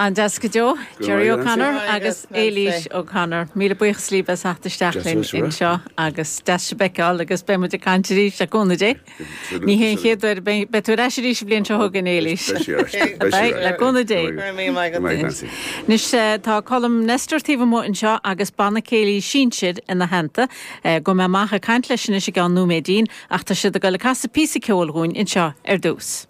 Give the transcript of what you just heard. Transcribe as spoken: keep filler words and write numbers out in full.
An-deas go deo, Jerry O'Connor agus Éilís O'Connor. Míle buíochas libh as theacht isteach linn anseo agus deas sibh a fheiceáil agus beidh muid ag caint arís le cúnamh Dé. Ní hé an chéad uair beidh tú ar ais arís an bhliain seo chugainn Éilís. Le cúnamh Dé. Anois tá Colm Nestor taobh amuigh anseo agus banna céilí sinsir ina theannta, gabhfaidh mé amach ag caint leis anois i gceann nóiméidín ach tá siad ag dul ag casadh píosa ceoil dhúinn anseo ar dtús.